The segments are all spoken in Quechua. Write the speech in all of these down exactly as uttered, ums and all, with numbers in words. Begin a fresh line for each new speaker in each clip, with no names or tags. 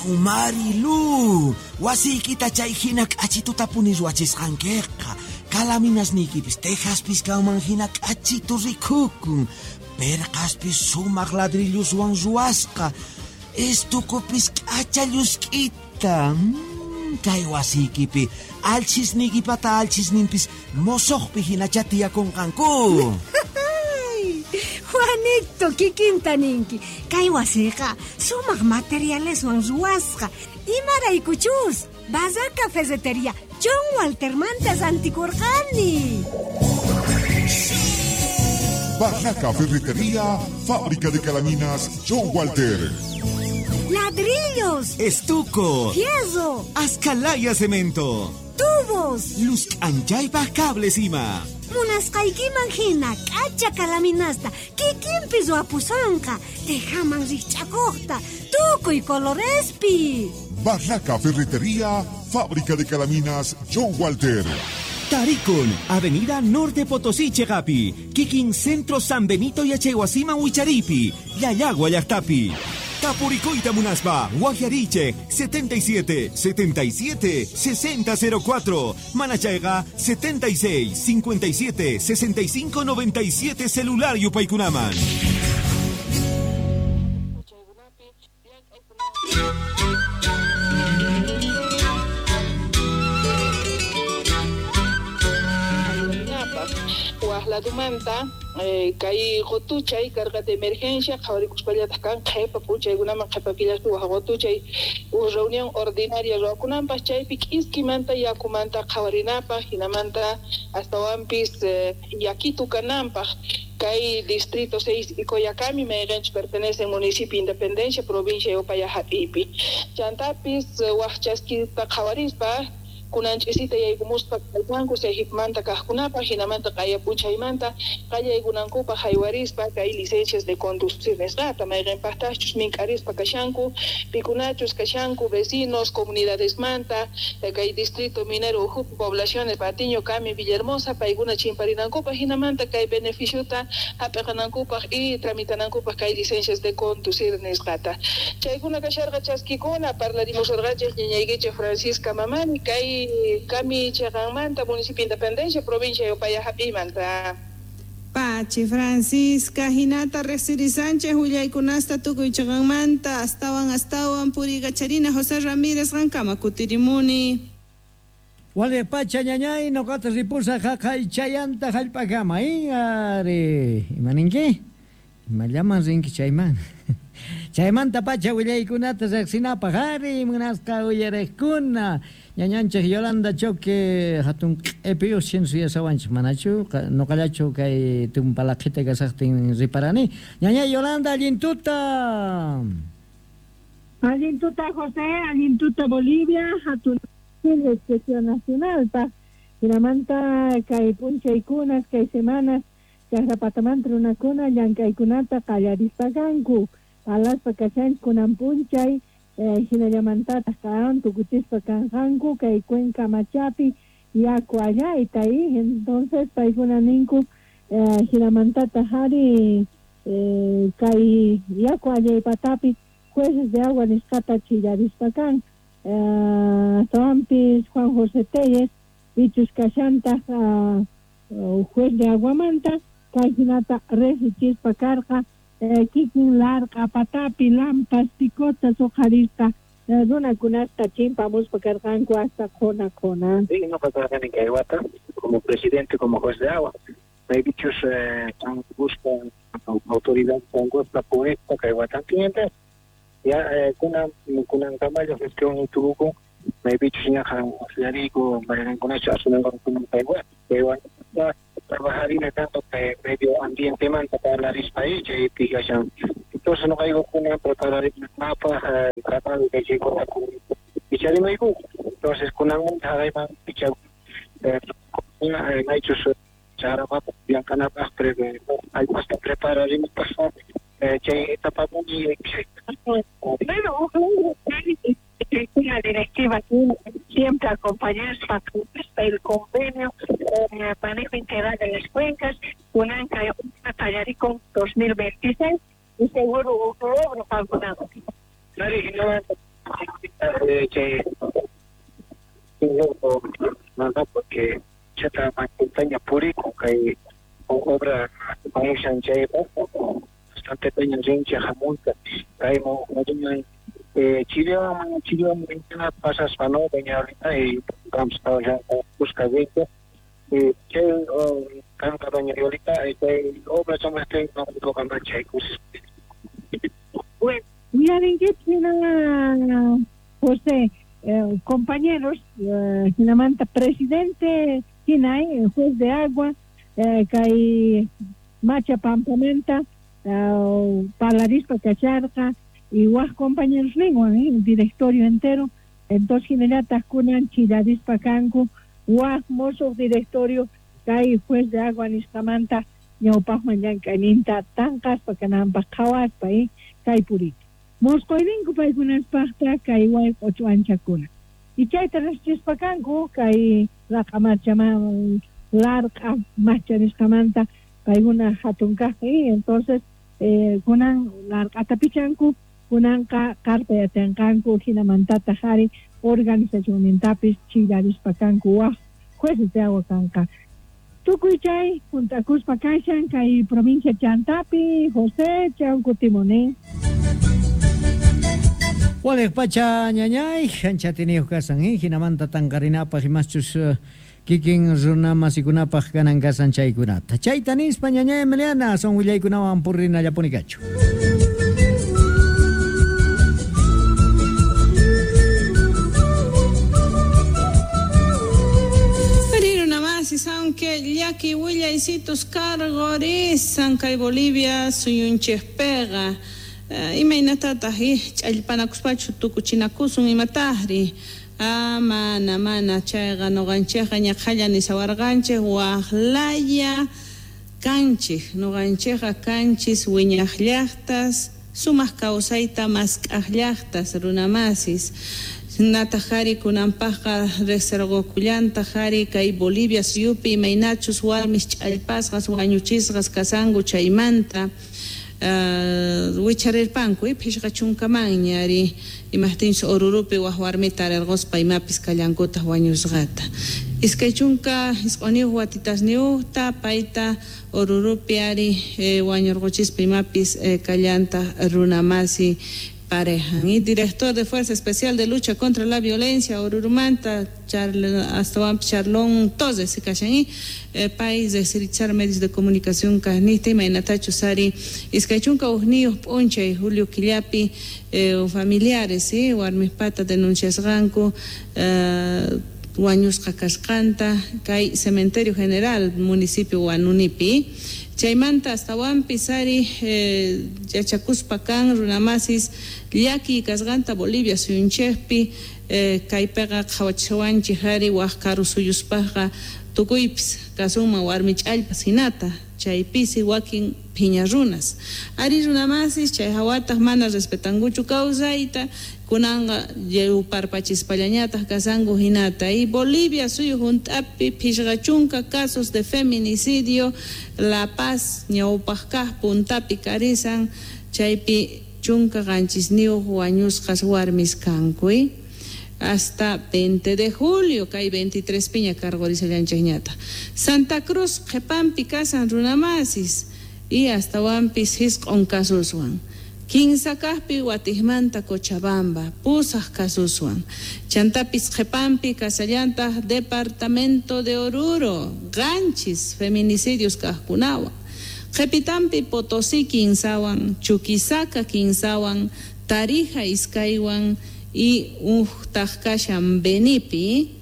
Ahu Marilu, wasiykita chay hina k'achituta puni ruwachisqankiqa. Kalaminasniykipis tejaspis kanman hina k'achitu rikukun. Perqaspis sumaq ladrilloswan ruwasqa. Estukupis k'acha llusk'ita. Mm, kay wasiykipi alchisniykipata alchisninpis mosoqpi hinacha tiyakunqanku.
Juanito, kikinta ninki. Kay wasiqa sumaq materialeswan ruwasqa. Imaraykuchus Barraca Ferretería John Waltermanta rantikurqani.
Barraca Ferretería, fábrica de calaminas John Walter.
Ladrillos,
estuco,
fierro,
ascalaya cemento,
tubos,
luz anchaypaq cables ima.
Munasqaykiman hina k'acha kalaminasta kikinpi ruwapusanqa, tejaman rikch'akuqta, tukuy colorespi.
Barraca Ferretería, fábrica de calaminas John Walter.
Tarikun, Avenida Norte Potosí Chegapi, Kikin Centro San Benito Yachaywasiman Wicharipi, Llallagua llaqtapi. Tapurikuyta munaspa, Guajariche, setenta y siete, setenta y siete, sesenta cero cuatro, Manachayga, setenta y seis, cincuenta y siete, sesenta y cinco, noventa y siete, celular Yupaykunaman.
Ladumanta eh, kay qotuchay carga de emergencia qhawarikuspallataq kan qhipa p'unchaykunaman qhipa killaspi waj qotuchay uj reunión ordinaria ruwakunanpaq chaypi k'iskimanta yakumanta qhawarinapaq hinamanta astawanpis eh, yakitu kananpaq kay distrito seis y Coyacami mayqanchus pertenece al municipio Independencia provincia de Upaya hap'ipi chantapis waj chaskita qhawarispa kunanch'isita yaykumuspa kallpanku Sejipmanta kaqkunapaq hinamanta q'ayapuchaymanta qallaykunankupaq haywarispa kay licencias de conducir nisqata mayqinpaqtaqchus mink'arispa kashanku pikunachus kashanku vecinos comunidadesmanta kay distrito minero ukhupi poblaciones Patiño, Cami, Villahermosa paykuna chimparinankupaq hinamanta kay beneficiota hap'iqanankupaq y tramitanankupaq kay licencias de conducir nisqata chaykuna kasharqa chaskikuna parlarimusurqachik ñañaykichik Francisca Mamani kay Cami Cheqanmanta, municipio Independencia, provincia de Upaya hap'imanta.
Pachi Francisca, hinata Resiri Sánchez, willaykunasta tukuy chiqanmanta, astawan astawan puriykacharina José Ramírez qankama kutirimuni.
Wale pacha ñañay noqata ripusa jaqay chayanta hallp'akama, ari imaninki? Imallaman rinki chayman. Chaymanta pacha willaykunata riqsinapaq ari munasqa uyariqkuna. Ñañanchik Yolanda Choque hatun q'ipiyuq shinsuyasawanchik manachu noqallachu kay tumpalaqhita kasaqtin riparani. Ñaña Yolanda, allintuta.
Allintuta José, allintuta Bolivia, hatun expresión nacional pa hinamanta kay p'unchaykunas kay semanas chaqrapatamanta runakuna llank'aykunata qallarispa kanku palaspa kashanchik kunan p'unchay hinallamantataq karan tukuchispa kanqanku kay Cuenca Machapi yaku allayta y entonces paykuna ninku hinamantataq ari kay yaku allaypatapi jueces de agua nisqata chillarispa kan astawanpis Juan José Telles pichus kashantaq juez de aguamanta kay hinata riqsichispa karqa kikin larq'a patapi lampas picotas uqharispa runakunasta chimpamuspa karqanku hasta qhuna qhuna.
Sí, noqa karqani kay wata como presidente, como juez de agua. Maypichus busca autoridad congosta puesta kay watantinta ya kunan kunan kamayo gestión ituruku maypichus ñaqa usyariku mayqinkunachu asuminqanku kay wata kay wata trabajarina tanto que medio ambiente manta parlarispa ahí chaypi kashan. Entonces noqayku kunan prepararina mapa tratado de chaykuna picharimayku. Entonces kunanmanta haqayman picha maychus chaqrapapaq llamk'anapaq allpasta prepararinapaq chay etapapuni.
Bueno, una directiva siempre acompañarse el convenio eh, manejo integral de las cuencas, kunanka qallarikun dos mil veintiséis y seguro logro calculado.
Chay no, porque chata montaña purico kay obra paishan chaypa bastante peña rincha jamunta kay mo eh Chile Chile pasas no doña ahorita y vamos a ya busca veinte eh chay canta doña Violita eh obra somos este no lo chay
Bueno, mira, José, eh, compañeros, eh, hinamanta presidente hinay, juez de agua, eh, kay macha pampamenta, eh, palarispa kacharqa, y waj compañeros lengua, eh, el directorio entero, entonces hinallata kunan chillarispa kanku, waj mozo directorio, kay juez de agua nisqamanta, ñawpaqman llank'ayninta tanqaspa kananpaq qhawaspa, eh, kay purita. Mosqoyninku paykunaspaqta kay wayq'uchu anchakuna. Y chayta riqsichispa kanku kay raq'a marchaman larq'a macha nisqamanta paykuna hatun kaq, eh, entonces eh, kunan larq'ata pichanku, kunanqa qarpa yatanqanku hinamantataq ari organizacionnintapis chillarispa kanku waj jueces de agua kanqa. Tukuy chay juntakuspa kashan kay provincia Chantapi, José chan kutimunin.
Waliq pacha ñañay, ancha tiniyuq kasan, eh, hinamanta tanqarinapaq imaschus uh, kikin runa masikunapaq kanan kasan chaykunata. Chayta nispa ñañay Emiliana, son willaykunawan purrinallapuni kachu.
Aunque llaki willaysitus cargorisan kay Bolivia suyunchikpiqa uh, imaynatataq ch'allpanakuspachu tukuchinakusun imataqri ah, mana mana chayqa nuqanchikqa ñaqhalla nisawarqanchik waqlaya kanchik nuqanchikqa kanchis wiñaq llaqtas sumaq kawsayta mask'aq llaqtas runamasis nataq hari kunanpaqqa riqsirqukullantaq hari kay Bolivia suyupi imaynachus warmis ch'allpasqas wañuchisqas kasanku chaymanta uh, wicharirpanku phishqa chunkamanña ari imaqtinchus Orurupi waq warmita arirquspa imapis kallankutaq wañusqata iskay chunka isq'uniyuq watitasniyuqta payta Orurupi ari eh, wañurquchispa imapis eh, kallantaq runamasi pareja. Y director de Fuerza Especial de Lucha contra la Violencia, Orurumanta, hasta Charlón Toses, kashan, eh, país de Sirichar medios de comunicación carnista, imaynatachu sari, iskaychunka hukniyuq p'unchay, Julio Quillapi, eh, familiares, ¿sí? Warmispata denunciasqanku, eh, wañusqa kasqanta, kay Cementerio General, municipio Huanunipi. Chaymanta astawanpis ari eh, yachakuspa kan runamasis llaki kasqanta Bolivia suyunchikpi eh, kaypiqa qhawachiwanchik ari waq karu suyuspaqqa tukuypis kasunman warmi ch'allpas hinata chaypisi wakin phiña runas ari runamasis chay hawataq mana respetankuchu kawsayta kunanqa lliwparpachispallañataq kasanku hinata y Bolivia suyu hunt'api phishqa chunka casos de feminicidio La Paz ñawpaq kaq puntapi karisan chaypi chunka qanchisniyuq wañusqas warmis kanku hasta veinte de julio kay veintitrés piña cargorisallanchikñata Santa Cruz qhipanpi kasan runamasis y astawanpis hisq'un kasuswan kinsa kaqpi Watijmanta Cochabamba pusaq kasuswan chantapis qhipanpi kasallantaq departamento de Oruro qanchis feminicidios kaqkunawan qhipitanpi Potosí kinsawan Chuquisaca kinsawan Tarija iskaywan y uhtaq kashan Benipi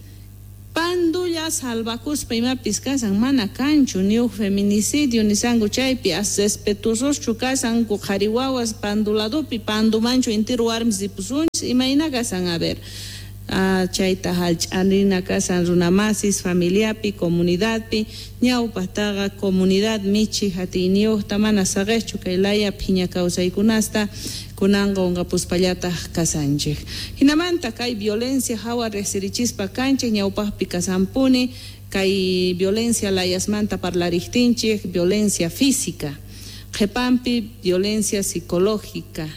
Pandulla salvakuspa imapis kasan mana kanchu ni uj feminicidio nisanku chaypi as respetuososchu kasanku qhari wawas panduladopi pandumanchu intiru warmis ripusunchis imayna kasan a ver ah, chayta hallch'arina kasan runamasis familiapi comunidadpi ñawpaqtaqa comunidad michi hatiyniyuqta mana saqishchu kay laya phiña kawsaykunasta kunanqa unqapuspallataq kasanchik hinamanta kay violencia hawa riqsirichispa kanchik ñawpaqpi kasanpuni kay violencia layasmanta parlariqtinchik violencia física qhipanpi violencia psicológica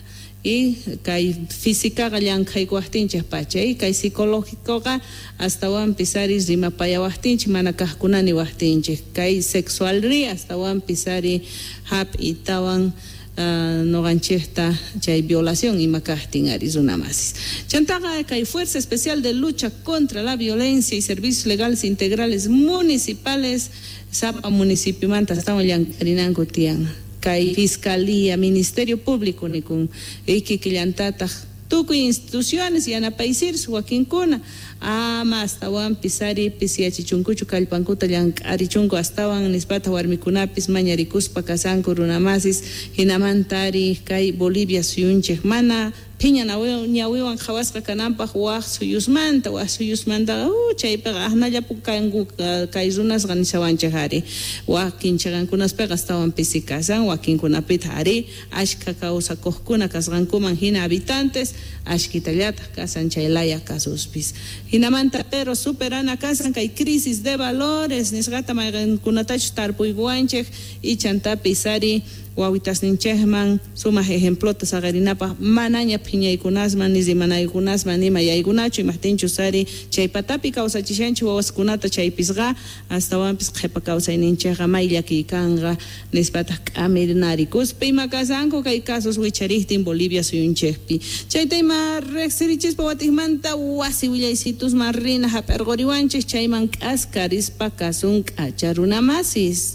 Y kay físicaqa llank'aykuwaqtinchik pacha y kay psicológicoqa astawanpis ari rimapayawaqtinchik mana kaqkuna niwaqtinchik kay sexualri astawanpis ari hap'itawan Uh, noqanchikta chay violación ima kaqtin ari runamasis. Chantaqa kay Fuerza Especial de Lucha contra la Violencia y Servicios Legales Integrales Municipales sapa municipiomanta astawan llank'arinanku tiyan. Kay Fiscalía, Ministerio Público nikun ikikillantataq tukuy instituciones yanapaysirsu wakinkuna ama astawanpis ari pisiyachichunkuchu kallpankuta llank'arichunku astawan nispata warmikunapis mañarikuspa kasanku runamasis hinamanta ari kay Bolivia suyunchik mana phiña ñawiwan qhawasqa kananpaq waq suyusmanta waq suyusmanta uh, chaypiqa aqnallapu kanku kay runasqa nishawanchik ari wakin chiqankunaspiqa astawan pisi kasan wakinkunapitaq ari ashka kawsakuqkuna kasqankuman hina habitantes ashkitallataq kasan chay laya kasuspis hinamanta pero superana kasan kay crisis de valores nisqata mayqinkunatachus tarpuykuwanchik ichantapis ari wawitasninchikman sumaq ejemplota saqarinapaq manaña phiñaykunasman ni rimanaykunasman nima yaykunachu imaqtinchus ari chay patapi kawsachishanchik wawaskunata chaypisqa astawanpis qhipa kawsayninchikqa may llakiykanqa nispataq k'amirnarikuspa ima kasanku kay casos wichariktin Bolivia suyunchikpi chayta ima riqsirichispa watiqmanta wasi willaysitusman rina hap'irquriwanchik chayman k'askarispa kasun k'acha runamasis.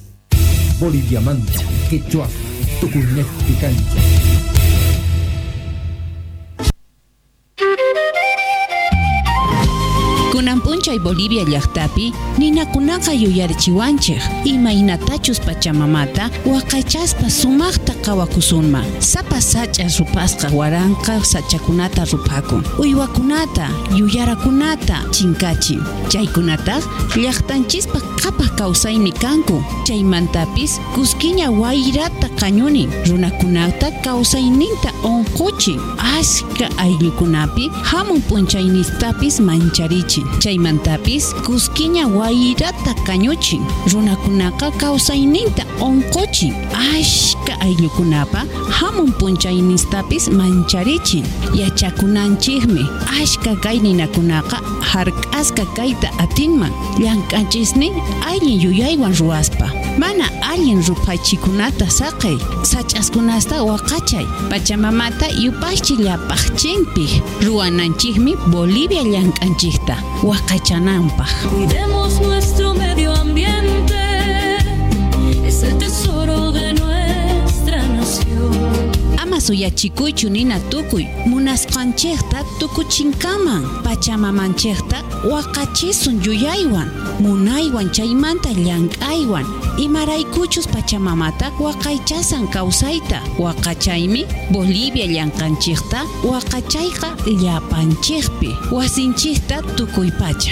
Boliviamanta, Quechua, Tucunejpi cancha.
Kunan p'unchay Bolivia llaqtapi ninakunaqa yuyarichiwanchik imaynatachus pachamamata waqaychaspa sumaqta qawakusunman sapa sach'a rupasqa waranqa sachakunata ruphakun uywakunata yuyarakunata chinkachin chaykunataq llaqtanchispa qhapaq kawsaymi kanku chaymantapis kuskiña wayrata qañunin runakunata kawsayninta unquchin ashka ayllukunapi hamun p'unchaynistapis mancharichin chaymantapis kuskiña wayrata kañuchin runakunaqa kawsayninta unquchin ashka ayllukunapa hamun p'unchaynistapis mancharichin yachakunanchikmi ashka kay ninakunaqa hark'asqa kayta atinman llank'anchisnin allin yuyaywan ruwaspa mana allin ruphachikunata saqay sach'askunasta waqachay pachamamata yupaychi llapaqchinpi ruwananchikmi Bolivia llank'anchikta waqachananpaq.
Cuidemos nuestro medio ambiente, es el tesoro de nuestra nación.
Ama suyachikuychu nina tukuy munasqanchikta tukuchinkaman pachamamanchikta waqachisun yuyaywan munaywan chaymanta llank'aywan imaraykuchus pachamamata waqaychasan kawsayta waqachaymi Bolivia llank'anchikta waqachayqa llapanchikpi wasinchikta tukuy pacha.